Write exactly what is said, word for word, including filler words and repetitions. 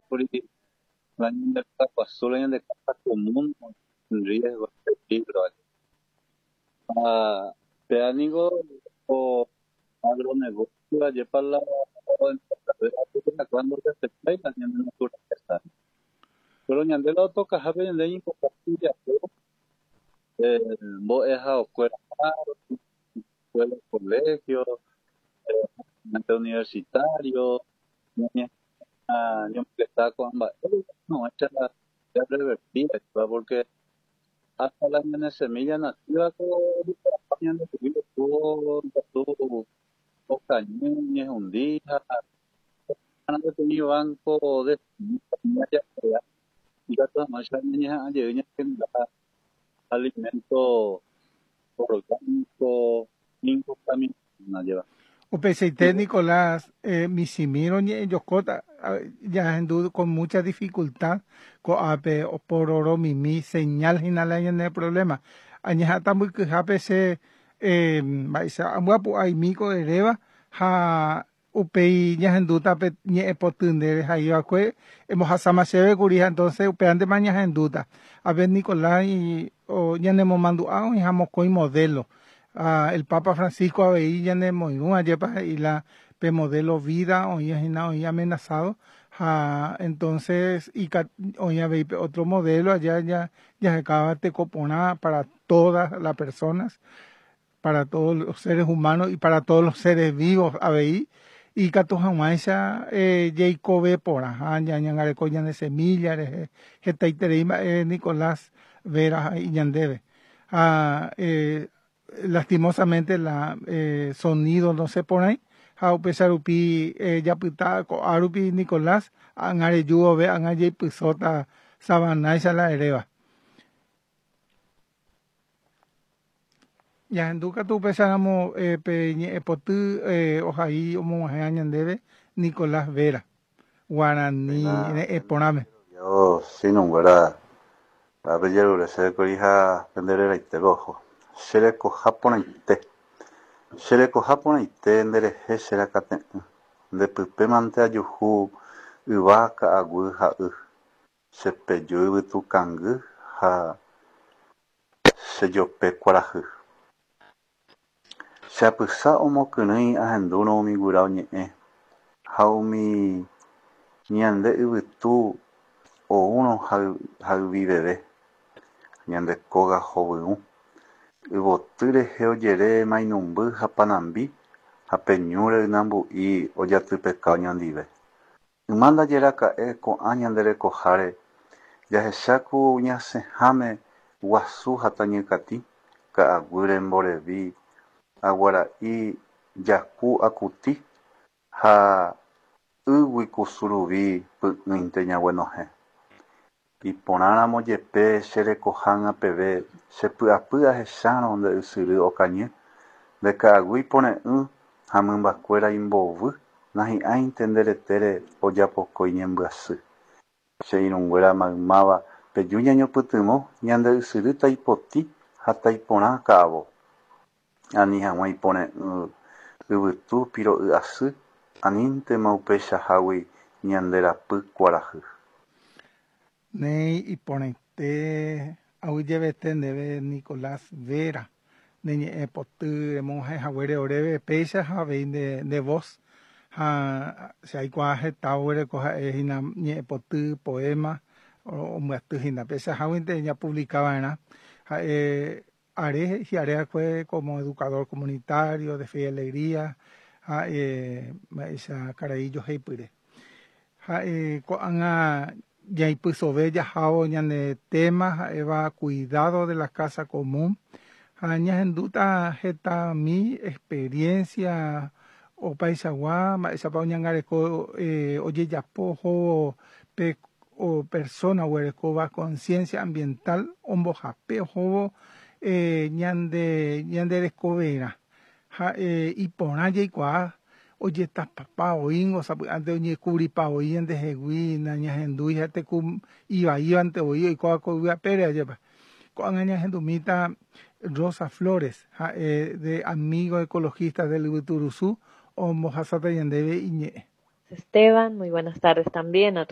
Kuri la ñande guasu la ñande casa común en riesgo, en peligro. Ah, péa niko ko agronegocio ajépa la ndorespetái la ñande naturaleza. Pero ñande la otokahápe ñande ñeikokatu japo eh, mbo'ehaokuéra escuela, colegio, eh, universitario, ñañomongeta ko'ã mba'e no ya revertida porque hasta la ñane semilla nativa ko ñandehegui ikatu okañy ñehundi ha peteĩ banco de semilla ikatu hag̃uáicha ñañeha'ã jey ñagenera alimento orgánico incontaminado. Upeichaite Nicolás, eh, michĩmi roñe'ẽjokóta jahendu con mucha dificultad ko'ápe opororomimi señal hína la ñane problema. Añeha'ãta mbykyhápe che eh, mba'éicha amby'apu'aimi ko eréva ha upéi ñahendúta pe ñe'ẽpoty ndéve ha'iva'ekue embohasáma chéve kuri ha entonces upévantema ñahendúta. A ver Nicolás ñanemomandu'a oĩha mokõi modelo. Ah, el Papa Francisco avei ñanemoirũ ajépa he'i la pe modelo vida oĩhína oĩ amenazado ha entonces oĩ avei pe otro modelo allá ya jahekáva teko porã para todas las personas, para todos los seres humanos y para todos los seres vivos avei ikatu hag̃uáicha eh, jaikove porã ha ñañangareko ñane semilla rehe hetaiterei mba'e Nicolás Vera he'i ñandéve. Ha eh, lastimosamente la eh, sonido no se porãi ha upéicha rupi eh, japyta ko'a rupi Nicolás ág̃a reju vove ág̃a jaipysóta Sabanáicha la eréva. Jahendu katu upéicharamo eh, pe ñe'ẽpoty eh, ohai omog̃uahẽ ñandéve Nicolás Vera Guarani re'ẽ porãme. Yo sinunguéra apejerure chéve ha pendereraitépe oho. Cherekoha porãite. Cherekoha porãite nderehe cherakate'ỹ. Ndepypémante ajuhu yva ka'aguy ha y. Chepeju yvytukangy ha chejope kuarahy. Cheapysa omokyrỹi ahendúrõ umi guyra oñe'ẽ ha umi ñande yvytu oúrõ hayviveve. Ñande kóga hovyũ. Yvoty rehe ojere mainumby ha panambi ha pe ñúre ynambu'i ojatypeka oñondive. Yma ndajeraka'e ko'ã ñande rekoháre jahecháku ñasẽháme guasu ha tañykatĩ, ka'aguýre mborevi, aguara'i jaku akuti ha ýgui kusuruvi py'ỹinte ñaguenohẽ. Iporãramo jepe cherekohág̃a peve chepy'apy ahechárõ nde ysyry okañy, nde ka'aguy ipore'ỹ ha mymbakuéra imbovy nahi'ãinte nde retére ojapokói ñembyasy. Che irũnguéra maymáva peju ñañopytyvõ ñande ysyry taipotĩ ha taiporã ka'avo. Ani hag̃ua ipore'ỹ yvytu piro'y asy aníntema upeichahágui ñanderapy kuarahy. Néi iporãite aguyjevete ndéve Nicolás Vera ne ñe'ẽpoty remog̃uahẽ oréve péicha ha avei nde, nde voz ha che aikuaa heta oguereko ha'ehína ñe'ẽpoty poema ombyatyhína peichaháguinte ñapublikava'erã ha'e are hi'areakue como educador comunitario de Fe y Alegría ha mba'éicha karai joheipyre. Ha'e ko'ág̃a jaipysove jahávo ñane tema ha'éva cuidado de la casa común ha ñahendúta hetami experiencia opaichagua mba'éichapa oñangareko eh, ojejapo ohóvo pe o persona oguerekóva conciencia ambiental ombohape ohóvo eh, ñande ñande rekoverã ha eh, iporã jaikuaa ojetapapa oĩngo sapy'ánte oñekuvripa voi ñandehegui nañahendúi ha teku ivaívante voi oikóva ko yvyapére ajépa. Ko'ág̃a ñahendumíta Rosa Flores ha'e de Amigo Ecologistas del Yvyturusu ombohasáta ñandéve iñe'ẽ. Esteban, muy buenas tardes también a